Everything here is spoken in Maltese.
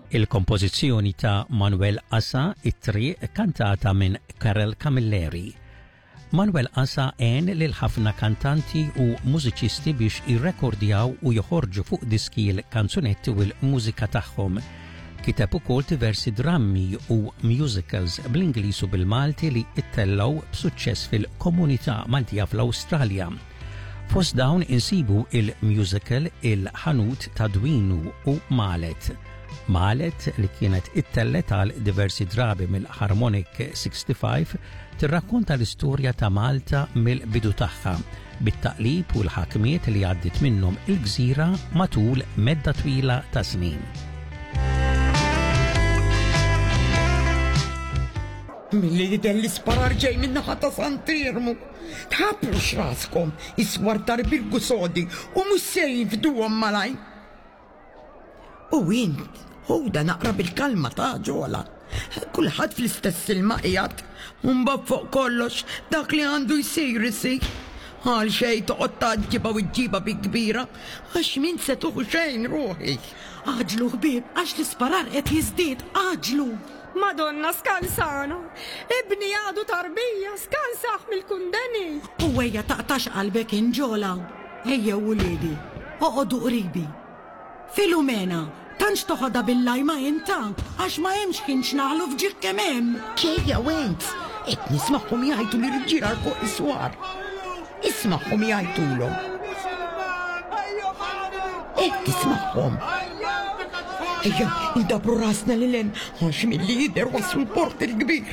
Il-kompożizzjoni ta' Manuel Asa, It-Triq, kantata minn Karel Camilleri. Manuel Asa għen lil ħafna kantanti u mużiċisti biex jirrekordjaw u joħorġu fuq diski l-kanzunetti u l-mużika tagħhom. Kiteb ukoll diversi drammi u musicals bl-Ingliż u bil-Malti li ttellgħu b'suċċess fil-komunità Maltija fl-Awstralja. Fost dawn insibu il-musical Il-Ħanut ta' Dwinu u Malet. Malet li kienet ittellgħet għal diversi drabi mill-Harmonic 65 tirrakkonta l-istorja ta' Malta mill-bidu tagħha, bit-taqlib u l-ħakmiet li għaddiet minnhom il-gżira matul medda twila ta' snin. Milli jidher l-isparar ġej min-naħa ta' Sant'Iermu. Tħabblux raskom, is-swar tal-Birgu sodi u mhux se jinfduhom malajr. U int, ħudha naqra bil-kalma ta' Ġola. Kulħadd fl-istess ilma qiegħed. U mbagħad fuq kollox, dak li għandu jsir isir. Għal xejn toqgħod tgħaġġibha u ġġibha bi kbira, għax m'int se tuħu xejn ruħi. Għaġġlu ħbieb għax l-isparar qed jiżdied, għaġġlu! Madonna skansana! Ibni għadu tarbija, skansah mill-kundeni! U ejja taqtax qalbek int Ġola! Ejjew uliedi, oqogħdu qribi. Filumena, tantx toħodha bil-lajma int ha, għax ma hemmx ħin x'naħlu f'ġieħ kemm hemm! Ġejja Wenz! Qed nismagħhom jgħajtu l-irġiel għal fuq is-swar. Ismagħhom jgħajtulhom. Qed tismagħhom. Ejja, indabru rasna lil hemm għax milli jidher waslu l-port il-kbir.